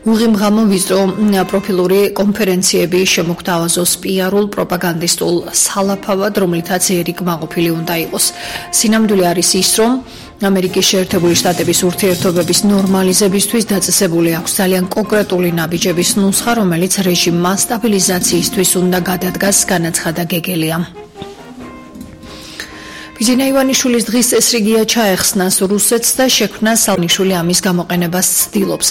უღიმღამო ვიზრო პროფილური კონფერენციები შემოგთავაზოს პიარულ პროპაგანდისტულ სალაფავად, რომლითაც ერიკმა ყოფილი უნდა იყოს. სინამდვილე არის ის, რომ ამერიკის შეერთებული შტატების ურთიერთობების ნორმალიზებისთვის დაწესებული აქვს ძალიან კონკრეტული ნაბიჯების ნუსხა, რომელიც რეჟიმმა სტაბილიზაციისთვის უნდა გადადგას, განაცხადა გეგელია. ბიძინა ივანიშვილის დღის წესრიგია ჩაეხსნას რუსეთს და შექმნა სანიშვილი ამის გამოყენებას ცდილობს.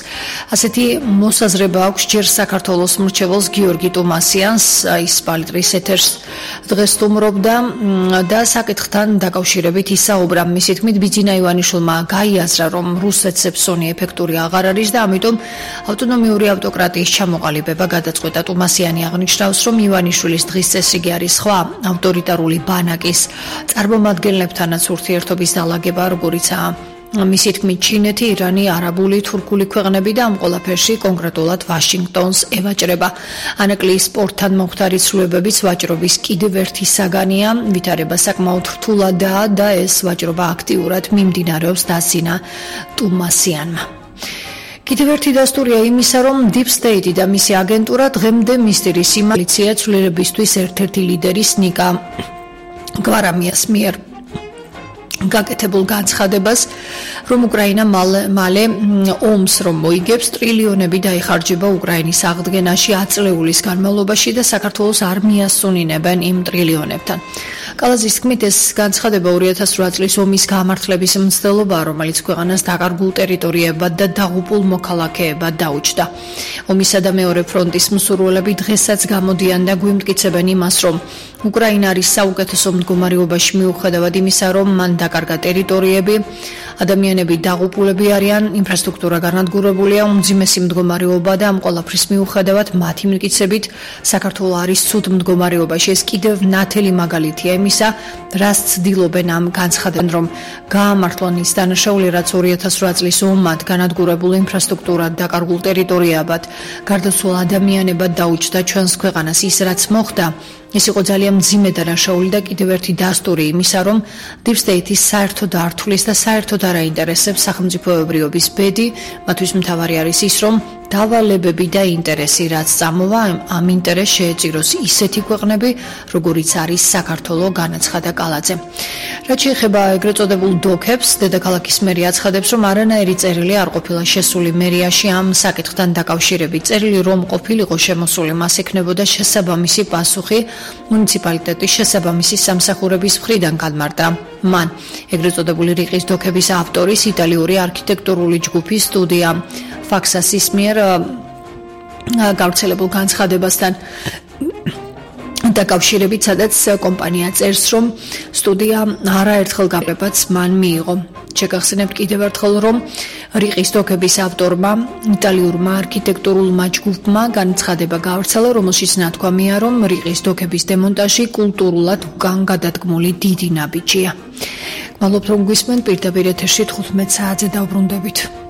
ასეთი მოსაზრება აქვს ჯერ საქართველოს მრჩეველს გიორგი ტუმასიანს, ის პალიტრის ეთერს დღეს სტუმრობდა და საკითხთან დაკავშირებით ისაუბრა. მისი თქმით, ბიძინა ივანიშვილმა გაიაზრა, რომ რუსეთს ეფსონი ეფექტური აღარ არის და ამიტომ ავტონომიური ავტოკრატიის ჩამოყალიბება გადაწყვეტა. ტუმასიანი აღნიშნავს, რომ ივანიშვილის დღის წესრიგი არის სხვა ავტორიტარული ბანაკის წარმომადგენლებთანაც ურთიერთობის დალაგება, როგორიცაა მისი თქმით ჩინეთი, ირანი, არაბული, თურქული ქვეყნები და ამ ყველაფერში კონკრეტულად ვაშინგტონს ევაჭრება. ანაკლიის სპორტთან მომხდარი ცვლილებების ვაჭრობის კიდევ ერთი საგანია, ვითარება საკმაოდ რთულადაა და ეს ვაჭრობა აქტიურად მიმდინარეობს, დასძინა ტუმასიანმა. კიდევ ერთი დასტურია იმისა, რომ Deep State და მისი აგენტურა დღემდე მისდირის იმალიცია ცვლილებისთვის ერთ-ერთი ლიდერის ნიკა გვარამიას მიერ გაკეთებულ განცხადებას, რომ უკრაინა მალე ომს რომ მოიგებს, ტრილიონები დაიხარჯება უკრაინის აღდგენაში აწლეულის განმავლობაში და საქართველოს არ მიასუნინებენ იმ ტრილიონებთან. კალაზის თქმით, ეს განცხადება 2008 წლის ომის გამართლების მცდელობაა, რომელიც ქვეყანას დაკარგულ ტერიტორიებად და დაღუპულ მოქალაქეებად დაუჯდა. ომისა და მეორე ფრონტის მსურველები დღესაც გამოდიან და გვიმტკიცებენ იმას, რომ უკრაინა არის საუკეთესო მდგომარეობაში მიუხედავად იმისა, რომ მან დაკარგა ტერიტორიები, ადამიანები დაღუპულები არიან, ინფრასტრუქტურა განადგურებულია, უმძიმესი მდგომარეობა და ამ ყველაფრის მიუხედავად მათი მტკიცებით საქართველო არის ცუდ მდგომარეობაში. ეს კიდევ ნათელი მაგალითია იმისა, რაც ცდილობენ ამ განცხადებამ, რომ გაამართლონ ის დანაშაული, რაც 2008 წლის ომად განადგურებულ ინფრასტრუქტურად, დაკარგულ ტერიტორიებად, გარდაცვალ ადამიანებად დაუჯდა ჩვენს ქვეყანას. ის რაც მოხდა, ეს იყო ძალიან მძიმე დანაშაული და კიდევ ერთი დასტური იმისა, რომ Deep State-ის საერთოდ არ თulis და საერთოდ არ აინტერესებს სახელმწიფოებრიობის ბედი, მათთვის მთავარი არის ის, რომ დავალებები და ინტერესი რაც წამოვა, ამ ინტერესს შეეწიროს ისეთი ქვეყნები, როგორიც არის საქართველო, განაცხადა კალაძე. რაც შეეხება ეგრეთ წოდებულ დოქებს, დედაქალაქის მერი აცხადებს, რომ არანაირი წერილი არ ყოფილა შესული მერიაში ამ საკითხთან დაკავშირებით. წერილი რომ ყოფილიყო შემოსული, მას ექნებოდა შესაბამისი პასუხი მუნიციპალიტეტის შესაბამისი სამსახურების მხრიდან განმარტა მან. ეგრეთ წოდებული რიყის დოქების ავტორის იტალიური არქიტექტურული ჯგუფის სტუდია ფაქსასის მიერ გავრცელებულ განცხადებასთან დაკავშირებით, სადაც კომპანია წერს, რომ სტუდია არაერთხელ გამარჯვებას მან მიიღო. შეგახსენებთ კიდევ ერთხელ, რომ რიყის დოქების ავტორმა, იტალიურმა არქიტექტურულმა ჯგუფმა განცხადება გავრცელა, რომელშიც ნათქვამია, რომ რიყის დოქების დემონტაჟი კულტურულად უკან გადადგმული დიდი ნაბიჯია. გმადლობთ, რომ გვისმენთ, პირდაპირ ეთერში 15 საათზე დავბრუნდებით.